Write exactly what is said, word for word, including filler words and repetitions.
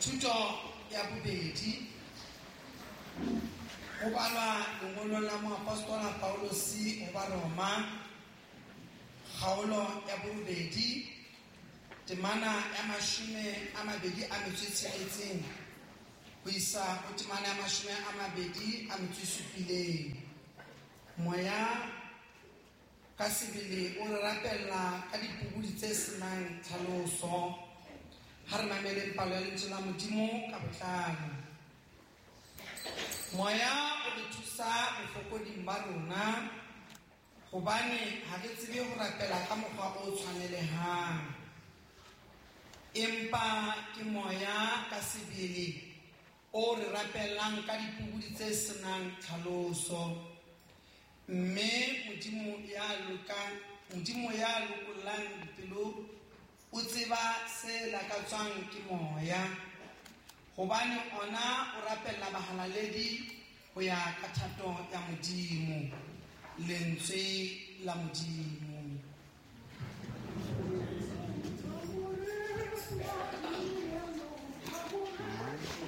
Thuto ya bobedi ho balwa lengolong la moapostola Paulosi ho Baroma, kgaolo ya borobedi, temana ya mashome a mabedi a metso e tsheletseng ho isa ho temana ya mashome a mabedi a metso e supileng. Moya ka sebele o re rapella ka dipobodi tse senang tlhaloso. Ha re mameleng palo ya lentswe la Modimo ka botlalo. Moya o re thusa bofokoding ba rona, hobane ha re tsebe ho rapela ka mokgwa o tshwanelehang. Empa ke moya ka sebele o re rapellang ka dipobodi tse senang tlhaloso. Mme Modimo ya lokang, Modimo ya lokollang dipelo o tseba se lakatswang ke moya, hobane ona o rapella bahalaledi ho ya ka thato ya Modimo. Lentswe la Modimo.